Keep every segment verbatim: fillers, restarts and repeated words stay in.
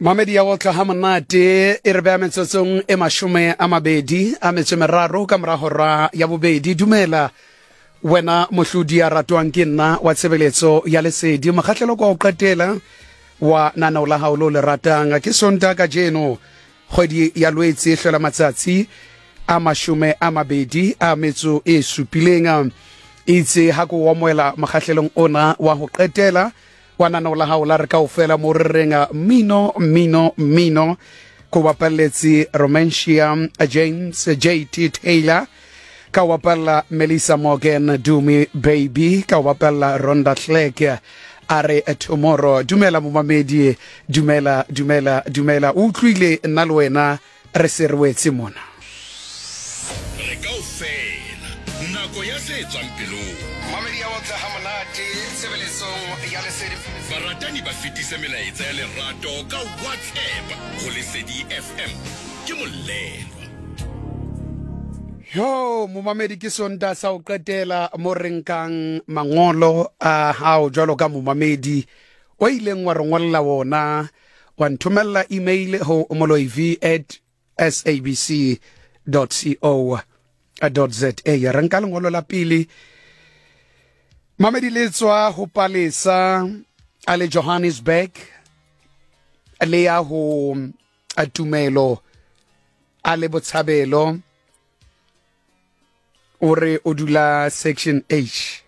Mamedi ya otla ha monate e re beha metsotsong e mashome a mabedi a metso e meraro ka mora hora ya bobedi. Dumela wena mohlodi ya ratwang ke nna wa tshebeletso ya Lesedi, mokgahlelo kwa ho qetela wa nanao la hao lo le ratang. Ke Sontaha kajeno, kgwedi ya Lwetse e hlola matsatsi a mashome a mabedi a metso e supileng. Itse ha ko amohela mokgahlelong ona wa ho qetela wa nanao la hao la re kaofela, mo re reng mmino, mmino, mmino, ko bapalletse Romantia James J T Taylor, ka o bapalla Melissa Morgan, Dumi Baby, ka o bapalla Rhonda Clark, a re Tomorrow. Dumela momamedi, dumela, dumela, dumela. O utlwile, nna le wena re se re wetse mona. Re kaofela, nako ya se tswang pelong. Mamedi ya otla ha monate tshebeletsong ya Lesedi. Baratani ba fetise melaetsa ya lerato ka WhatsApp go Lesedi F M ke Molelwa. Yo momamedi, ke Sontaha sa ho qetela mo re nkang mangolo a hao jwalo ka momamedi o ileng wa re ngolla wona, wa nthomella email ho moloiv at sabc co za. Re nka lengolo la pele, mamedi, le tswa ho Palesa a le Johannesburg, le ya ho Tumelo a le Botshabelo. O re o dula Section H.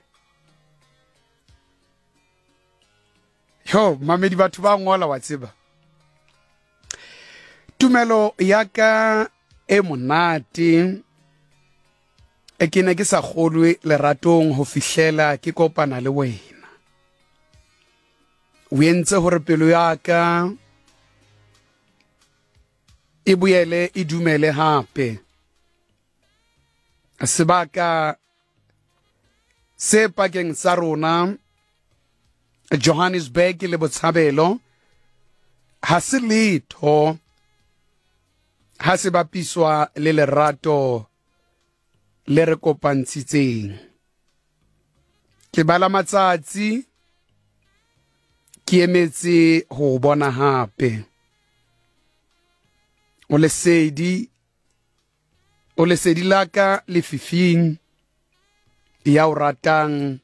Yo mamedi, batho ba ngola, wa tseba, tumelo ya ka e monate e ke ne ke sa kgolwe leratong ho fihlela ke kopana le wena. O entse hore pelo ya ka e boele e dumele hape. Sebaka se pakeng sa rona, Johannesburg le Botshabelo, ha se letho ha se bapiswa le lerato le re kopantshitseng. Ke bala matsatsi ke emetse ho bona hape. O lesedi, o lesedi la ka lefifing, ya o ratang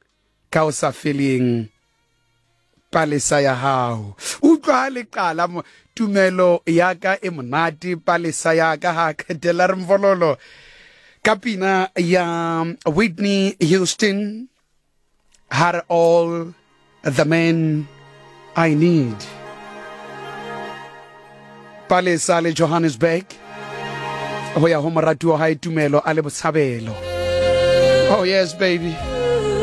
ka o sa feleng, palesa ya hao. Utlwa ha le qala mo, tumelo ya ka e monate, palesa ya ka, ha qetela re mvololo ka pina ya Whitney Houston, har All the Man I Need. Palesa le Johannesburg ho ya ho moratuwa hae Tumelo a le Botshabelo. Oh yes, baby.